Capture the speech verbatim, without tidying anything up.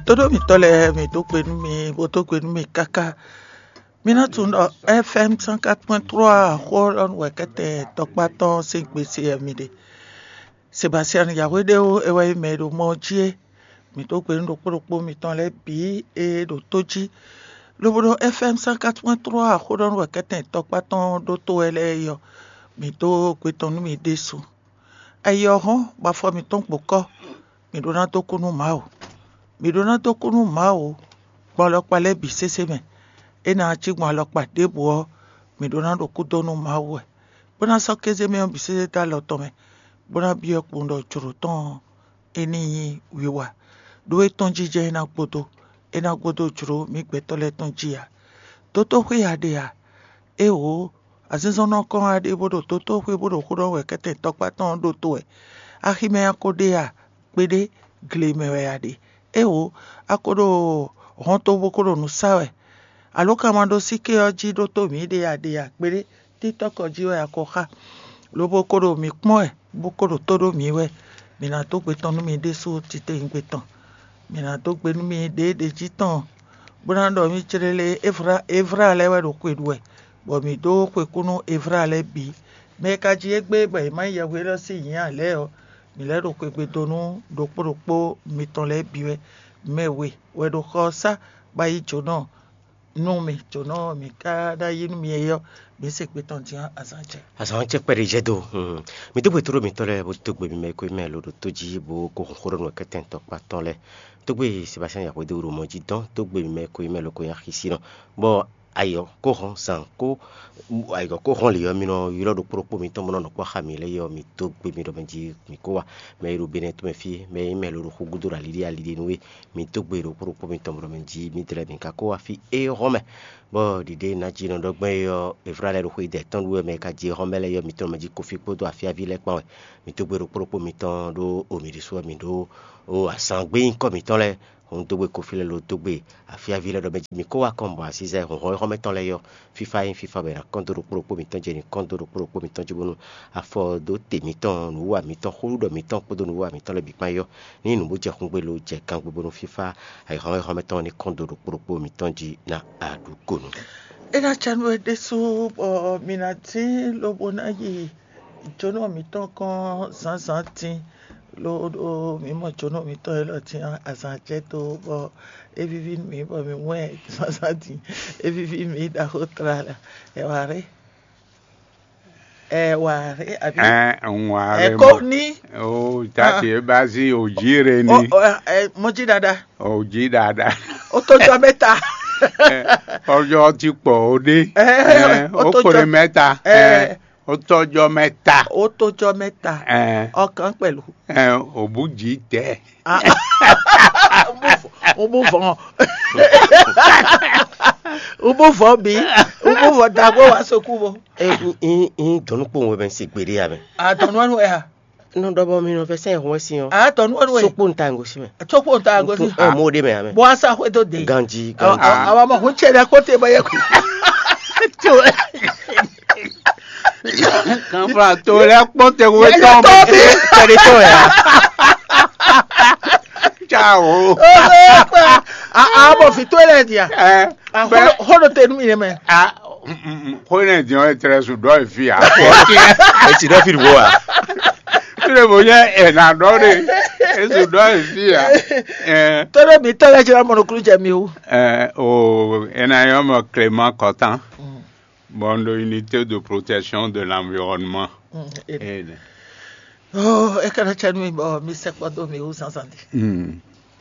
Tóɖó mǐtɔn lɛ́ɛ, mǐ dó gbe nú mi, bó dó gbe nú mi káká. Mi ná tunwun ɖɔ F M cent quatre point trois xó ɔ́ ɖɔhun wɛ kɛ́tɛn tɔkpá tɔn sín gbe se wɛ mi ɖe. Sebastian Yahweh ɖé ó, é wɛ nyí mɛ e ɖo mɔ ɔ́ jí é. Mǐ dó gbe nú ɖokpó ɖokpó mitɔn lɛ́ɛ bǐ e ɖo tó jí, lobo ɖo F M cent quatre point trois xó ɖɔhun wɛ kɛ́tɛn tɔkpá tɔn ɖótó wɛ lɛ́ɛ é ɔ́, mǐ dó gbe tɔn nú mi ɖésú. Ayi ɔ́ hɔ́n, bɔ afɔ mǐtɔn gbo kɔ́, mǐ ɖó ná dó kú nú Mawu. Mǐ ɖó ná dó kú nú Mawu gbɔn alɔkpa lɛ́ɛ bǐ sésé mɛ. É ná cí gbɔn alɔkpa ɖěbǔ ɔ́, mǐ ɖó ná ɖo kúdó nú Mawu wɛ, bó ná sɔ́ kéze mɛ ɔ́ bǐ sésé dó alɔ tɔn mɛ, bó ná byɔ́ kpowun ɖɔ jlǒ tɔn ɔ́, é ní nyí wiwa, ɖó é tɔn jínjɔ́n é ná gbódó, é ná gbódó jlǒ mǐ gbɛtɔ́ lɛ́ɛ tɔn jí ǎ. Dótó xwé a ɖe a? Éeǒ, azinzɔnnɔ kɔn a ɖe bó ɖo dótó xwé bó ɖo xó ɖɔ wɛ kɛ́tɛn tɔkpá tɔn ɔ́ ɖótó wɛ. Aximɛ a ko ɖe a? Kpeɖé, gle mɛ wɛ a ɖe. Éeǒ, a ko ɖo hɔnto bó ko ɖo nǔ sa wɛ. Alǒ ka ma ɖó síké ɔ́ jí ɖótó mǐɖée a ɖe a? Kpeɖé, títɔ́kɔ jí wɛ a ko xá, lobo ko ɖo mǐ kpɔ́n wɛ, bó ko ɖo tó ɖó mǐ wɛ. Mǐ ná dó gbe tɔn nú mi ɖésú titewungbe tɔn. Mǐ ná dó gbe nú mi ɖěeɖě jí tɔn, bó ná ɖɔ mì céɖélé, Evra lɛ́ɛ wɛ ɖo xwe ɖu wɛ, bɔ mǐ dó xwe kú nú Evra lɛ́ɛ bǐ. Mɛ e ka jí égbé bɔ è má nyí yɛhweɖɔ sín nyǐ ǎ lɛ́ɛ ɔ́, mǐ lɛ́ ɖo xwegbe dó nú ɖokpó ɖokpó mitɔn lɛ́ɛ bǐ wɛ. Mɛ we wɛ ɖo xɔ ɔ́ sá bó yi jǒnɔ nú mì, jǒnɔ mǐ ka ná yí nú mi é ɔ́, mǐ se gbe tɔn din ɔ́, azǎn jɛ. Azǎn ɔ́ cɛ kpɛɖé jɛ do. Mi dó gbe tóɖó mitɔ́ lɛ́ɛ bó dó gbe mi mɛ e ko nyí mɛ lo ɖo tó jí bó ko hun xó ɖɔ nú wɛ kɛ́tɛn tɔkpá tɔn lɛ́ɛ. Dó gbe Sebastian Yahweh ɖo mɔ jí dɔn, dó gbe mi mɛ e ko nyí mɛ lo ko nyí axisínɔ, bɔ ayɔ kó hɔn zan kó ayɔ kó hɔn lě ɔ́, mi nɔ ylɔ́ ɖokpó ɖokpó mitɔn bó nɔ nɔ kpɔ́ xá mi lɛ́ɛ ɔ́, mi dó gbe mi ɖɔ mɛ jí mi kó wa. Mɛ e ɖo Benɛ́ tɔn mɛ fí, mɛ e nyí mɛ lo ɖo xúgúdó ɖo aliɖí aliɖí nú we, mi dó gbe ɖokpó ɖokpó mitɔn bó nɔ mɛ jí mi dlɛ́ mi ka kó wá fí éhɔ́n mɛ. Bɔ ɖiɖe nǎjínɔ ɖɔ gbɛn é ɔ́, Eflálɛ ɖo xwedɛ́ tɔn ɖu wɛ mɛ e ka jí éhɔ́n mɛ lɛ́ɛ ɔ́, mi tɔn mɛ jí kofí kpódó afyáví lɛ́ɛ kpán wɛ. Mi dó gbe ɖokpó ɖokpó mitɔn ɖó omi ɖésú wɛ mi ɖó o azǎn gbé nyíkɔ mitɔn lɛ́ɛ. Hun dó gbe kofí lɛ́ɛ lo dó gbe afyáví lɛ́ɛ ɖɔ mɛ jí mi kó wá kɔn bɔ asízɛ hlɔ̌nhlɔ́n éhɔ́n mɛ tɔn lɛ́ɛ ɔ́, fífá nyí fífá bɔ è nǎ kɔn dó ɖokpó ɖokpó mitɔn jí, è nǐ kɔn dó ɖokpó ɖokpó mitɔn jí bónú afɔ dó te mitɔn, nǔwiwa mitɔn, xóɖuɖɔ mitɔn kpódó nǔwiwa mitɔn lɛ́ɛ bǐ kpán yɔ. Ní nǔ bó jɛ xungbe lo jɛ gangbe bónú fífá ayǐhɔ́nmɛ tɔn ní kɔn dó ɖokpó ɖokpó mitɔn jí ná aɖǔkonu. É ná ca nú we ɖésú bɔ mi ná dín lobo ná yi jǒnɔ mǐtɔn kɔn zǎnzǎn dín, loɖo mǐ mɔ jǒnɔ mǐtɔn élɔ́ dín azǎn jɛ dó bɔ é víví nú mǐ bɔ mǐ wɛn zǎnzǎn dín, é víví mǐ ɖaxó tlala. Ɛ wǎ ré. Ɛ wǎ ré àbí? Ɛ ń wá ré. Ɛ kó ní. O tati e ba zi o jí re ni. Mɔjí dada. O jí dada. Ó tó jọ mẹ́ta. Ọjọ́ ti pọ̀ ó dé. Ẹ, ó tó jọ mẹ́ta. Ẹ, ó tọ́jọ́ mẹ́ta. Ó tó jọ mẹ́ta. Ẹ, ọkàn pẹ̀lú. Ẹ, òbújì tẹ. Ah, ah. Mo bú vɔn. Mo bú vɔn bí. Mo bú vɔn dagbo wa sokú bo. Ɛ, n n dɔnnu kpowun wɛ bɛ n se gbeɖe ya mɛ. A dɔnnu wɛ ya. Nɔ dɔ bɔ mi nɔ fɛ sɛn hun wɛ si ɔ. A dɔnnu wɛ. Sokpo n ta n gosi mɛ. Sokpo n ta n gosi. Ɛ mo de mɛ ya mɛ. Bɔ asa xwe to de. Ganji ganji. Awa mɔ hun cɛ dɛ kpɔtɛ bɔ yɛ. Kanfra to lɛ kpɔtɛ wo tɔn bi. Tɛli tɔn ya. Ciao. A a bɔ fi to lɛ dia. Ɛ. A xɔ xɔ do te nu mi yɛ mɛ. A xɔ ne diɔ etrɛ su dɔ efi a. Eti dɔ fi wo a. Tule bo yɛ ɛna dɔ de. Esu dɔ efi a. Ɛ. Tɔɖɔ mi tɔlɛ jɛ mɔnɔkulu jɛ mi o. Ɛ o ɛna yɔ mɔ Clément Kɔtan. Bon, de unité de protection de l'environnement. Mm, et- Et- Oh, e kana tsɛ nu mi bɔ mi sɛ kpɔ do mi wu sansan di. Mm.